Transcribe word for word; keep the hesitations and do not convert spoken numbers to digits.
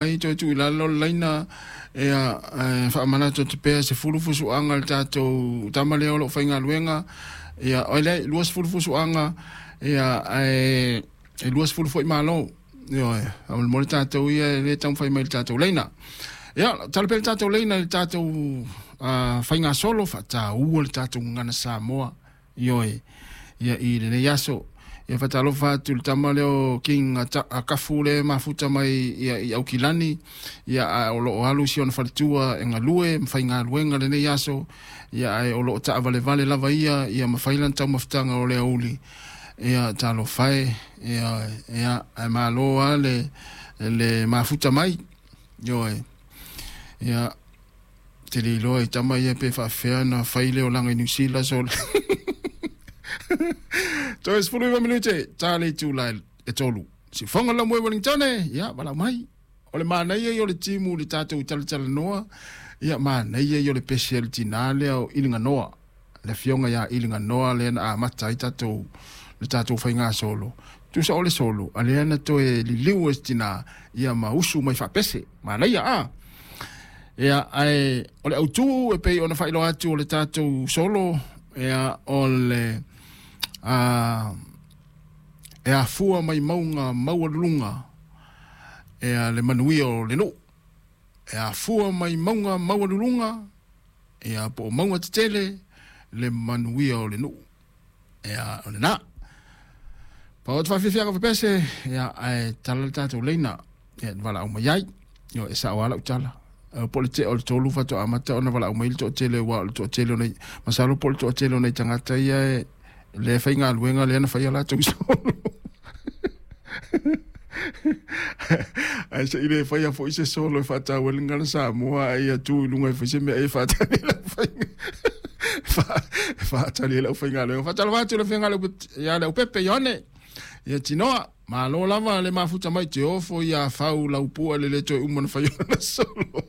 Ai toe tuu i lalo le laina ia e faamanatu atu pea sefulu fusuaga le tatou tama lea o loo faigaluega ia oi le luasefulu fusuaga ia ae e luasefulu foi malo. Ioe, faamolemole tatou ia e le taumafai mai le tatou laina. Ia tala pea le tatou laina i le tatou uh, faigasolo faataua le tatou gagana Samoa. Ioe, ia i lenei aso ia faatalofa atu le tama lea o King Kafu le mafuta mai ia i Aukilani ia ae o loo alu si ona faletua e galue ma faigaluega lenei aso ia ae o loo taavalevale lava ia ia mafai lana taumafataga o le aoauli ia talofa e ia ia ae malo lava le le mafuta mai. Ioe, ia te le iloa i tama ia pe faafefea na fai le olaga i Niu Sila so toe sefulu iva minute ta le itula e tolu. Siufoga le laumue Wellingtone ia valaau mai. O le manaia ia o le timu le tatou talatalanoa ia manaia ia o le pese a le tinā lea o Iliganoa. Le afioga ia Iliganoa lea na amata ai tatou le tatou faigasolo. Tusa o le solo a lea na toe liliu e se tinā ia ma usu mai faapese. Manaia a. Ia ae o le autū e pei ona faailoa atu o le tatou solo ia o le a e afua mai mauga maualuluga ia le manuia o le nuu. E afua mai mauga maualuluga ia po o mauga tetele le manuia o le nuu. Ia o lena. Pau o te faafiafiaga fapese ia ae tala le tatou leina ia valaau mai ai. Io e sao lava lau tala. Po o le tea o le tolu faatoa amata ona valaau mai le toatele aua o le toatele o nei masalo po o le toatele o nei tagata ia e le faigaluega lea na faia latou solo. Ae se i le faia foi se solo e faataua ai le gagana Samoa ae ia tu i luga e fai se mea e faatali ai le aufaiga e faatali ai le aufaigaluega. Faatalofa atu i le afioga ia Leaupepe Ioane ia Tinoa. Malo lava le mafuta mai te ofo ia fau laupua le le toe uma na fai ona solo.